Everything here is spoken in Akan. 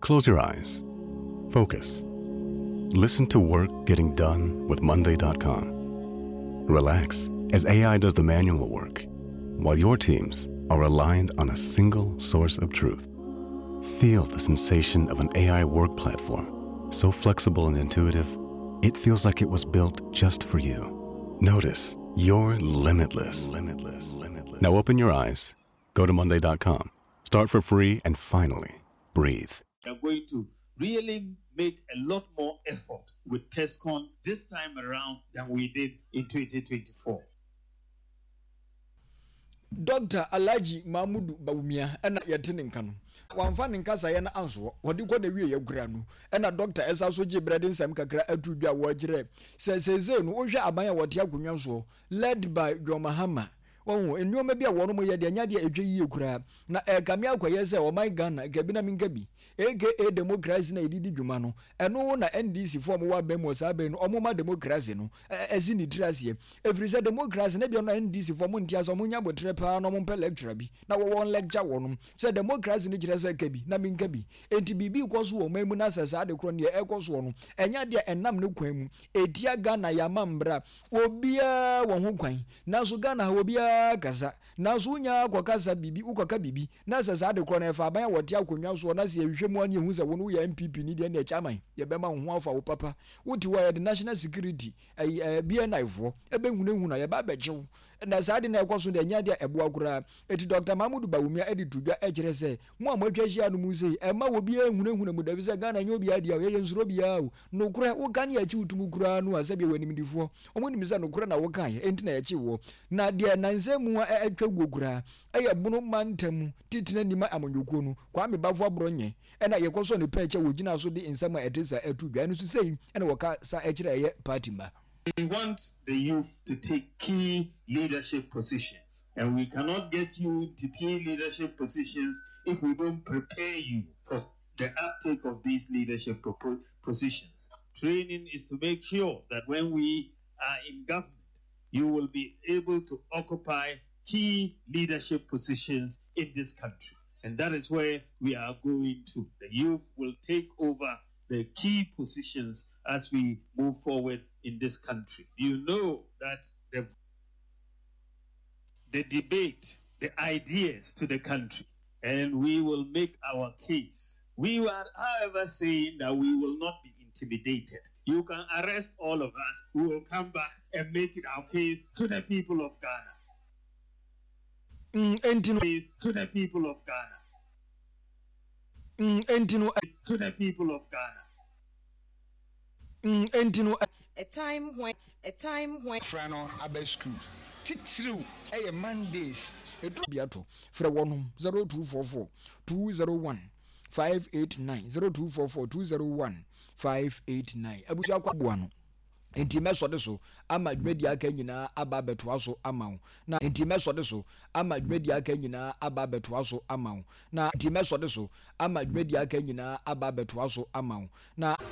Close your eyes. Focus. Listen to work getting done with Monday.com. Relax as AI does the manual work, while your teams are aligned on a single source of truth. Feel the sensation of an AI work platform so flexible and intuitive, it feels like it was built just for you. Notice you're limitless. Limitless. Limitless. Now open your eyes, go to Monday.com, start for free, and finally breathe. We are going to really make a lot more effort with TESCON this time around than we did in 2024. Dɔkta Alhaji Mahmudu Bawumia na yɛte ne nka no. Wamfa ne nkasaeɛ no ansoɔ, ɔde kɔ n'awieeɛ koraa no na Dɔkta ɛsan so gyee berɛ de nsɛm kakra ato dwa a wɔkyerɛ sɛ seesei no wohwɛ aban a wɔte akonnwa soɔ led by John Mahama Wahu, nnoɔma bi a wɔnom yɛ deɛ ɛnyɛ adeɛ a ɛtwa yie koraa, na ɛrekame akɔyɛ sɛ ɔman Ghana, ka bi na menka bi, aka democracy no a yɛde di dwuma no, ɛno na NDC foɔ a wɔwɔ aban mu wɔ saa bere no, wɔma democracy no si ne tiri aseɛ. Ɛfiri sɛ democracy no ebia no NDC foɔ wɔnte aseɛ, wɔnya aboterɛ paa na wɔmpɛ lecturer bi na wɔn lecture wɔnom sɛ democracy no kyerɛ sɛ ka bi na menka bi. Enti biribi rekɔ so wɔ ɔman mu na sɛ saa ade korɔ no deɛ ɛrekɔ soɔ no, ɛnyɛ adeɛ a ɛnam ne kwan mu, ɛtia Ghana yɛn amambra, Obiara wɔ ho kwan, nanso Ghana ha obiara kasa. Nanso wonya kɔ kasa biribi, wokɔ ka biribi, na sɛ saa ade korɔ no ɛfa aban a wɔte akonnwa soɔ na sɛ yɛhwehwɛ mu a na yɛhu sɛ wo no woyɛ NPP ni deɛ ɛnneɛ chairman yɛbɛma wo ho afa wo papa. Wote hɔ a yɛde national security, ɛyi ɛɛ BNI foɔ ɛbɛhunahuna yɛba abɛkye wo. Na saa ade no a ɛkɔ so deɛ ɛnyɛ adeɛ a ɛboa koraa. Enti Dɔkta Mahmood Bawumia de to dwa kyerɛ sɛ mo a moatwa ahyia no mu sei, ɛmma obiara nhunahuna mo da efisɛ Ghana ɛnyɛ obiara dea o, yɛyɛ nsuro obiara o. Nokorɛ, woka ne yɛkye wo to mu koraa no a, sɛdeɛ wɔ animdefoɔ, wɔn nim sɛ nokorɛ na wokaeɛ, enti na yɛkye woɔ. Na deɛ nnansa mu a atwa guo koraa, ɛyɛ Bono mantam titenani ma amanyɔkuo no, Kwame Bafo Aborɔnyɛ, ɛna yɛkɔsɔɔ ne pɛɛkyɛ a wɔgyinaa so de nsɛm a ɛte saa to dwa. Ɛno nso sei na wɔkasa kyerɛ ɛyɛ party mma. We want the youth to take key leadership positions and we cannot get you to key leadership positions if we don't prepare you for the uptake of these leadership positions. Training is to make sure that when we are in government, you will be able to occupy key leadership positions in this country. And that is where we are going to. The youth will take over the key positions as we move forward in this country. You know that the, the debate, the ideas to the country, and we will make our case. We are, however, saying that we will not be intimidated. You can arrest all of us. We will come back and make it our case to the people of Ghana. Mm, case to the people of Ghana. Mm, no. To the people of Ghana. Mm, no. A time when, a time when. Fra no aba sukuu. Titiriw yɛ Mondays. Ɛduru. Bi ato. Frɛ wɔnom 0244 201 589 0244 201 589. Abusua kɔ aboa no. Enti mɛsɔ de so ama dwumadi aka nyinaa aba abɛtoa so ama wo. Na enti mɛsɔ de so ama dwumadi aka nyinaa aba abɛtoa so ama wo. Na enti mɛsɔ de so ama dwumadi aka nyinaa aba abɛtoa so ama wo. Na.